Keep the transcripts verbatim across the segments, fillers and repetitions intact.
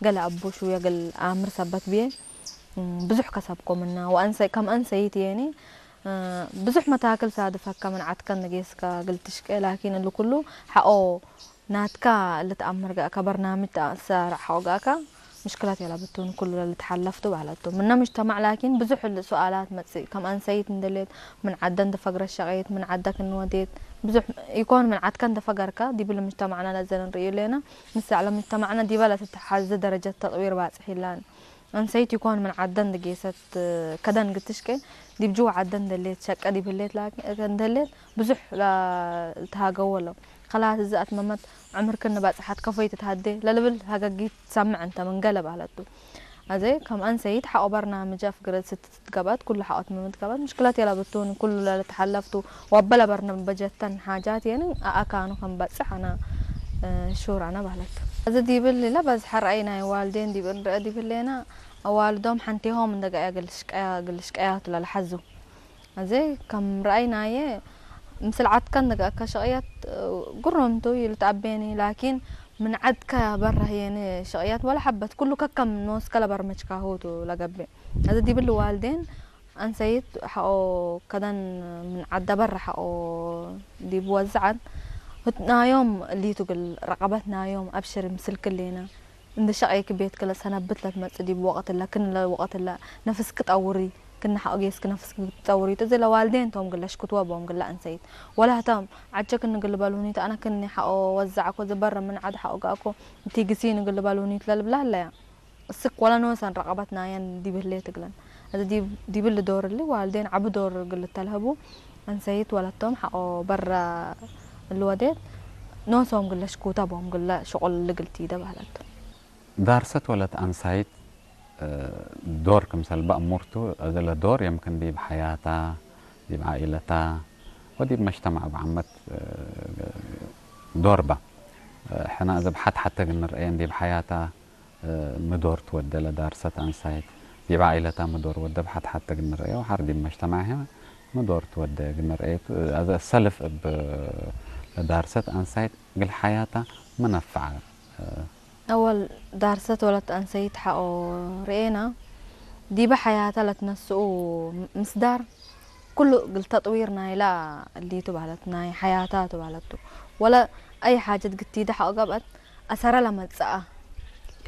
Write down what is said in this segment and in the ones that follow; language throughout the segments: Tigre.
ገሌ አቡ ሽውየ እግል አምር ሰበት ብዬ፣ እም፣ ብዙሕ ከሰብኮ ምና። ወአንሰ-፣ ከም አንሰይት የኒ፣ እ፣ ብዙሕ መታክል ሳድፈከ ምን ዐድከ እንዴ ጌስከ እግል ትሽቄ፣ ላኪን እሊ ኩሉ ሐቆ ናትካ ልትአምር ገአከ፣ በርናምጅ ተአሰራዕ ሐቆ ገአከ፣ ምሽክለት የለብቱን ኩሉ ለልትሐለፍቱ በህለቱ። ምነ ምጅተማዕ ላኪን ብዙሕ ሱኣላት መጽእ፣ ከም አንሰይት እንደሌት፣ ምን ዐደ እንደ ፈግረት ሸቄት፣ ምን ዐደ ክን ወዴት፣ ብዙሕ ኢኮን ምን ዐድከ እንደ ፈገርከ፣ ዲብሊ ምጅተማዕና ለዘ ንርእዩ ሌነ። ምሰዕ ለምጅተማዕና ዲበ ለትትሐዜ ደረጀት ተጥዊር ባጽሕ ኢላን። አንሰይት ኢኮን ምን ዐደ እንደ ጌሰት ከደን ግትሽቄ፣ ዲብ ጅወ ዐደ እንደሌት፣ ሸቀ ዲብ ህሌት ላኪን፣ እንደሌት ብዙሕ ለልትሃገው ወለው። ከላስ እዘ አትመመት ዕምር ክን በጽሐት ከፎይ ትትሀዴ ለልብል ሀገጊት ትሰምዕ እንተ ምን ገለ በህለቱ። አዜ ከም አንሰይት ሐቆ በርናምጀ አፍግረት ስትትገበት ኩሉ ሐቆ ትመመት ገበት ምሽክለት የለብቱን ኩሉ ለልትሐለፍቱ ወአበ ለበርናምጀተን ሓጃት የኒ አአካኑ ከም በጽሕ አነ፣ እ፣ ሹር አነ በህለቱ። አዜ ዲብል ለበዝሐ ረአይ ናይ ዋልዴን ዲብ እንረአ ዲብሌነ አዋልዶም ሐንቴሆም እንደ ገአየ እግል ሽቀያ፣ እግል ሽቀያቱ ለልሐዙ። አዜ ከም ረአይ ናየ፣ ምስል ዐድከ እንደ ገአከ ሸቅየት፣ እ፣ ግሩም ቱ ይልትአቤኒ፣ ላኪን ምን ዐድከ በረ ህዬኒ ሸቅየት ወለ ሐበት፣ ኩሉ ከከም ኖስከ ለበርመጅካሁ ቱ ለገብእ። አዜ ዲብል ዋልዴን አንሰይት ሐቆ ከደን ምን ዐደ በረ ሐቆ ዲብ ወዝዐት፣ ህትናዮም እሊቱ እግል ረቀበት ናዮም፣ አብሽሪ ምስልክ ሌነ። እንዴ ሸቄኪ ቤትኪ ለሰነብት ለትመጽእ ዲብ ወቅት እለ፣ ክን ለወቅት እለ ነፍስኪ ጠውሪ፣ ክነ ሐቆ ጌስኪ ነፍስኪ ትጠውሪ ቱ። እዜ ለዋልዴን ቶም እግል ለሽክትወ ቦም እግለ አንሰይት። ወለ ህቶም ዐጀ ክን እግል ልበሉኒ ቱ፣ አነ ክኒ ሐቆ ወዘዐኮ፣ እዜ በረ ምን ዐድ ሐቆ ገአኮ፣ እትግሲኒ እግል ልበሉኒ ቱ ለልብላ ህለያ። እስክ ወለ ኖሰን ረቀበት ናየን ዲብ ህሌት እግለን። እዜ ዲብ፣ ዲብሊ ዶር እሊ ዋልዴን ዐቢ ዶር እግል ልተልሀቡ፣ አንሰይት ወለቶም ሐቆ በረ እሊ ወዴት፣ ኖሶም እግል ለሽኩተ ቦም እግለ ሽቁል እሊ እግል ቲደ በህለት። ዳርሰት ወለት አንሳይት፣ እ፣ ዶር ክምሰል በአሙርቱ፣ እዝለ ዶር የምክን ዲብ ሐያታ፣ ዲብ ዓኢለታ ወዲብ መጅተማዕ እብ ዓመት፣ እ፣ ዶር በ። እ፣ ሕነ እዘ ብሐት ሐተ እግል ንርአየን ዲብ ሐያታ፣ እ፣ ሚ ዶር ትወዴ ለዳርሰት አንሳይት፣ ዲብ ዓኢለታ ሚ ዶር ወዴ ብሐት ሐተ እግል ንርአየ ወሐር ዲብ መጅተማዕ ህይ ሚ ዶር ትወዴ እግል ንርአየ ቱ። እ፣ አዘ ሰልፍ እብ ለዳርሰት አንሳይት እግል ሐያታ ሚ ነፍዐ? እ፣ አወል ዳርሰት ወለት አንሰይት ሐቆ ርኤና፣ ዲበ ሐያተ ለትነስኡ ምስዳር ኩሉ እግል ተጥዊር ናይላ እሊቱ በህለት፣ ናይ ሐያታ ቱ በህለቱ። ወለ አይ ሓጀት ግቲደ ሐቆ ገብአት አሰረ ለመጽአ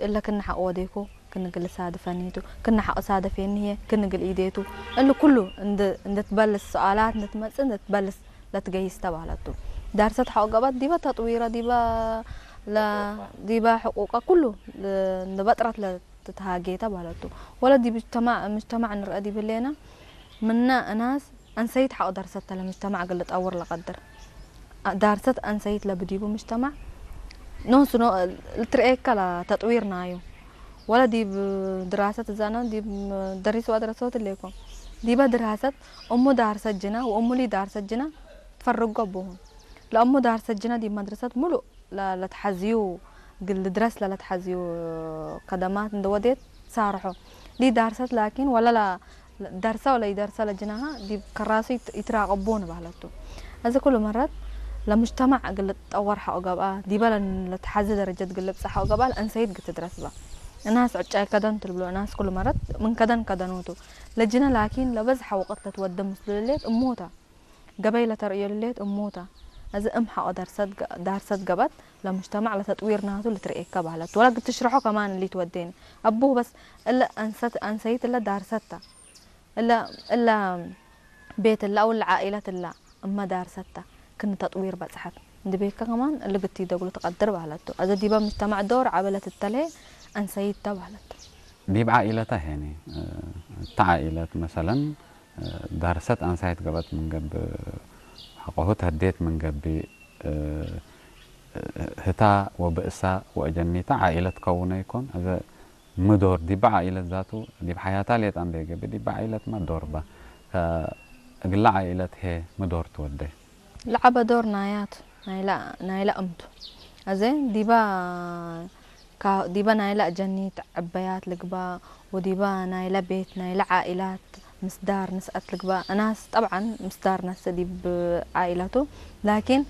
እለ ክነ ሐቆ ወዴኮ ክን እግል ሳድፈኒ ቱ፣ ክነ ሐቆ ሳደፌኒ ህዬ ክን እግል ኢዴ ቱ። እሊ ኩሉ እንድ-፣ እንድትበልስ፣ ሰአላት እንድትመጽእ እንድትበልስ ለትገይስ ተ በህለት ቱ። ዳርሰት ሐቆ ገብአት ዲበ ተጥዊረ፣ ዲበ ለ-፣ ዲበ ሕቁቀ ኩሉ ለ-፣ እንደ በጥረት ለትትሃጌ ተ በህለት ቱ። ወለ ዲብ ምጅተማዕ፣ ምጅተማዕ ንርአ ዲብ ህሌነ፣ ምነ እናስ አንሰይት ሐቆ ዳርሰት ተ ለምጅተማዕ እግል ልጠውር ለቀድር። ዳርሰት አንሰይት ለብዲቡ ምጅተማዕ ኖሱ ኖ-፣ ልትርኤከ ለተጥዊር ናዩ። ወለ ዲብ ድራሰት እዛነ ዲብ ደሪስ ወአድረሶት እሌኮ። ዲበ ድራሰት እሙ ዳርሰት ጅነ ወእሙሊ ዳርሰት ጅነ ትፈርጎ እቡሁ። ለእሙ ዳርሰት ጅነ ዲብ መድረሰት ሙሉእ ለ-፣ ለትሐዝዩ፣ እግል ልድረስ ለለትሐዝዩ ከደማት እንደ ወዴት ሳርሖ። ሊ ዳርሰት ላኪን ወለ ለ-፣ ደርሰ ወለ ኢደርሰ ለጅነሃ ዲብ ከራሱ ይት-፣ ይትራቀቡን በህለት ቱ። አዜ ኩሉ መረት ለምጅተማዕ እግል ልትጠወር ሐቆ ገብአ፣ ዲበ ለን-፣ ለትሐዜ ደረጀት እግል ልብጸሕ ሐቆ ገብአ ለአንሰይት እግል ትድረስ በ። እናስ ዕጫይ ከደን ቱ ልብሎ፣ እናስ ኩሉ መረት ምን ከደን ከደኑ ቱ። ለጅነ ላኪን ለበዝሐ ወቅት ለትወዴ ምስሉ ልሌት እሙ ተ። ገበይ ለተርእዮ ልሌት እሙ ተ። አዜ እም ሐቆ ደርሰት ገ-፣ ዳርሰት ገብአት ለምጅተማዕ ለተጥዊር ናቱ ልትርኤከ በህለት። ወለ እግል ትሽረሖ ከማን እሊ ትወዴኒ። አቡሁ በስ እለ አንሰት-፣ አንሰይት እለ ዳርሰት ተ። እለ፣ እለ ቤት እለ አው እለ ዓኢለት እለ እመ ዳርሰት ተ። ክን ተጥዊር በጽሐት እንዴ ቤከ ከማን እሊ እግል ቲደግሉ ትቀድር በህለት ቱ። አዜ ዲበ ምጅተማዕ ዶር ዐቢ ለትተልሄ አንሰይት ተ በህለት ቱ። ዲብ ዓኢለተ ሄኒ፣ እ፣ እተ ዓኢለት መሰለን፣ ዳርሰት አንሳይት ገብአት ምን ገብእ፣ ሐቆሁ ተህዴት ምን ገብእ፣ እ፣ ህታ ወብእሳ ወአጀኒታ ዓኢለት ከውነ ኢኮን። አዜ ሚ ዶር ዲበ ዓኢለት ዛቱ፣ ዲብ ሐያታ ሌጣ እንዴ ገብእ፣ ዲበ ዓኢለትመ ዶር በ። ከእግለ ዓኢለት ህዬ ሚ ዶር ትወዴ? ለዐበ ዶር ናያቱ፣ ናይለ፣ ናይለ እም ቱ። አዜ ዲበ ካ-፣ ዲበ ናይለ አጀኒት ዕበያት ልግባእ ወዲበ ናይለ ቤት ናይለ ዓኢላት ምስዳር ንስአት ልግባእ። እናስ ጠብዐን ምስዳር ነስእ ዲብ ዓኢለቱ፣ ላኪን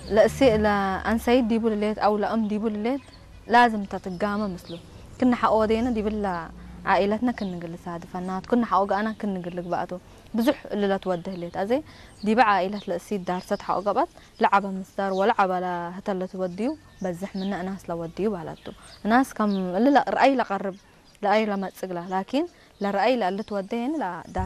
ለእሴ ለአንሰይት ዲቡ ልሌት አው ለእም ዲቡ ልሌት ላዝም ተ ትጋመ ምስሉ። ክነ ሐቆ ወዴነ ዲብለ ዓኢለትነ ክን እግል ልሳድፈ እናቱ፣ ክነ ሐቆ ገአና ክን እግል ልግበአቱ። ብዙሕ እሊ ለትወዴ ህሌት። አዜ ዲበ ዓኢለት ለእሲት ዳርሰት ሐቆ ገብአት፣ ለዐበ ምስዳር ወለዐበ ለህተ ለትወድዩ በዝሕ ምነ እናስ ለወድዩ ባላቱ። እናስ ከም እሊ ለ-፣ ረአይ ለቀርብ፣ ለአይ ለመጽእ እግላ፣ ላኪን ለረአይ ለእሊ ትወዴ የኒ ለዳር